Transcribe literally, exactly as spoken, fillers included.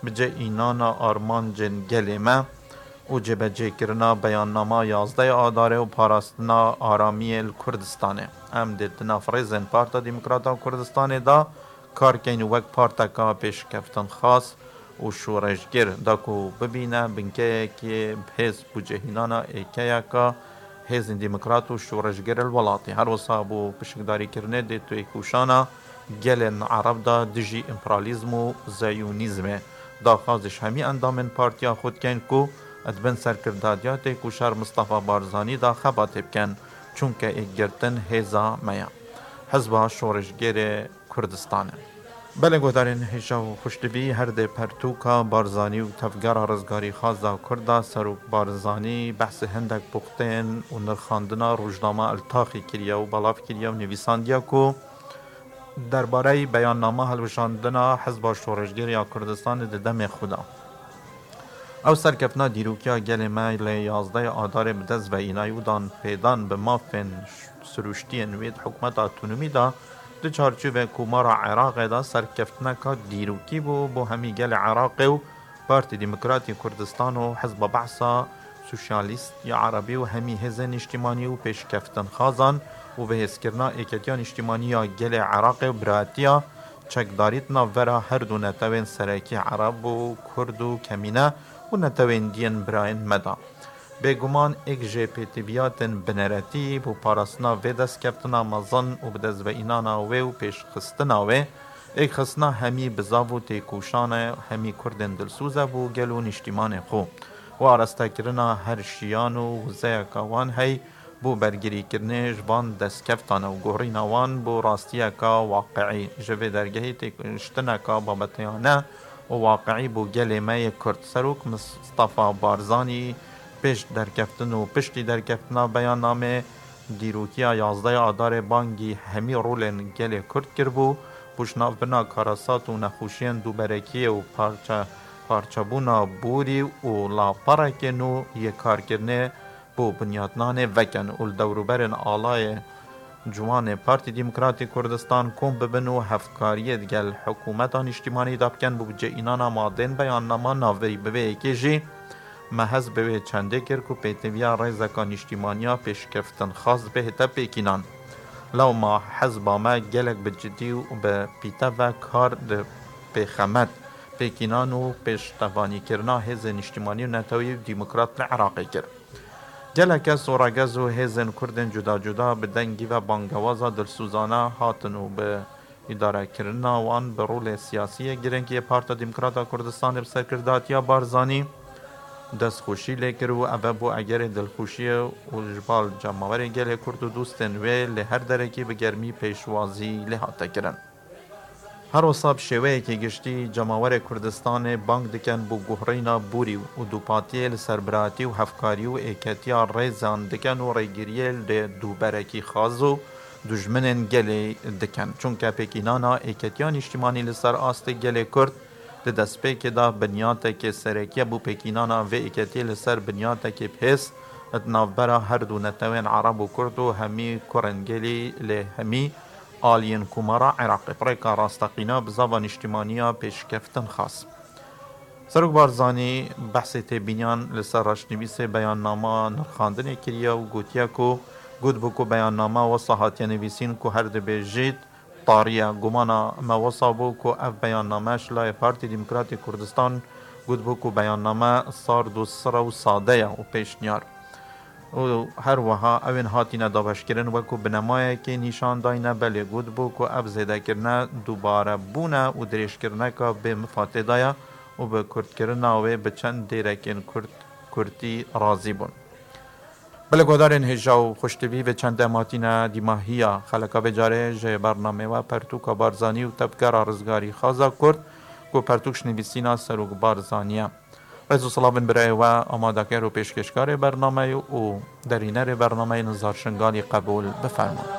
Bi cih înana armancên gelê me û cêbecêkirina beyannama yazdeh Adarê û parastina aramiyê li Kurdistanê. Em dê di nav rêzên Parta Demokrata Kurdistanê de kar keyn û wek parteka pêşkeftinxwaz û şoreşger da ku bibîne binkeyekê bi hêz û cihînana êkeyeka hêzên demokrat û şoreşger li welatê. Her wisa bo pişikdarîkirinê dê têkoşana gelên Ereb da dijî împerialîzm û zeyûnîzmê. Daxwaz ji hemî endamên partiya xwe dikin ku di bin serkirdatiya têkoşer Mistefa Barzanî da xebatê bikin, çunke êkgirtin hêza me ye. Hizba Şoreşgerê Kurdistanê. Belê guhdarên hêja û xweşdibî, her dê pertûka Barzanî û Tevgera Rizgarîxwaza Kurda Serok Barzanî behsê hindek puxtên û nirxandina rojnama Eltaxî kiriye û belav kiriye û nivîsandiye ku derbareyî beyannama hilweşandina Hizba Şoreşgerê ya Kurdistanê di demê xwe de. Ew serkeftina dîrokiya gelê me lê yazdeh Adarê bi dest ve înayî û dan pêdan bi mafên siruştiyên wê di hikûmeta otonomî de di çarçovê Komara Iraqê de serkeftineka dîrokî bû bo hemî gelê Iraqê û Partî Demokratî Kurdistan û Hizba Behsa Sosyalîst ya Erebî û hemî hêzên niştimanî û pêşkeftinxwazan û bihêzkirina êketiya niştimanî ya gelê Iraqê û biratiya çekdarî di navbera her du netewên serekî Ereb û Kurd û kemîne û netewên diyên birayên me de. Bêguman êk ji pêtiviyatên bineretî bo parastina vê destkeftina mezin û bi dest ve înana wê û pêşxistina wê, êkxistina hemî bizav û têkoşan e, hemî Kurdên dilsoz e bo gel û niştimanê xwe û arestekirina her şiyan û wizeyeka wan hey bo bergirîkirinê ji van destkeftan e û guhrîna wan bo rastiyeka waqiî. Ji vê dergehê têkuştineka babeteyane û waqiî bo gelê me yê Kurd. Serok Mistefa Barzanî pêş derkeftin û piştî derkeftina beyannamê dîrokiya yazdeh Adarê bangî hemî rolên gelê Kurd kiribû, bo ji navbirina karasat û nexweşiyên duberekiyê û parçe, parçebûna borî û laperekê nû yê karkirinê bo binyatnanê vekin û li dewrûberên alayê ciwanê Partî Demokratî Kurdistan kom bibin û hevkariyê digel hikûmeta niştimanî de bikin bo bi cihînana madên beyannama navberî. Bi vê yekê jî me hez bi wê çendê kir ku pêtiviya rêzeka niştimaniya pêşkeftinxwaz bihête pêkînan. Lewma hezba me gelek bi cidî û bi pîte ve kar di pêxemet, pêkînan û pêştevanîkirina hêzên niştimanî û netewî û demokrat li Iraqê kir. Gelek kes û regez û hêzên Kurdên cuda cuda bi dengî ve bangewaza dilsozane hatin û bi îdarekirina wan bi rolê siyasî yê girîng yê Parta Demokrata Kurdistanê bi serkirdatiya Barzanî destxweşî lê kir û ev bû egerê dilxweşiyê û ji bal cemawerê gelê Kurd û dostên wê li her derekî bi germî pêşwazî lê hate kirin. Her wisa bi şêweyekî giştî cemawerê Kurdistanê bang dikin bo guhrîna borî û dûpatiyê li ser biratî û hevkarî û êketiya rêzan dikin û rêgiriyê li dûberekî xaz û dujminên gelê dikin. Çunke pêkînana êketiya niştimanî li ser astê gelê Kurd di destpêkê de binyatekê serekî ye. Bo pêkînana vê êketiyê li ser binyatekê bi hêz di navbera her du netewên Ereb û Kurd û hemî kurên gelî lê hemî aliyên Komara Iraqê bi rêka rasteqîna bizava niştimaniya pêşkeftin xwest. Serok Barzanî behsê têbîniyan li ser reşnivîsê beyannama nirxandinê kiriye û gotiye ku got bû ku beyannama wisa hatiye nivîsîn ku her dibêjît tarî ye. Gumana me wisa bû ku ev beyanname ji layê Partî Demokratîk Kurdistan got bû ku beyanname sard û sire û sade ye û pêşniyar û her wiha ew ên hatine dabeşkirin wekû binemayekê nîşan dayne, belê gotibû ku ev zêdekirine dubarebûn e û dirêjkirineka bê mifa tê de ye û bi kurtkirina wê bi çend dêrekên kurt, kurtî razî bûn. Belê guhdarên hêja û xweştivî, vê çende em hatine dîmahiya xeleka vê carê ji bernamê we pertûka Barzanî û Tevgera Rizgarîxaza Kurd ku pertûk ji nivîsîna Serok Barzanî ye. Rêz û silavên birayê we, amadeker û pêşkêşkarê bernameyê û derînerê bernameyê Nizar Şingalî qebûl bifermin.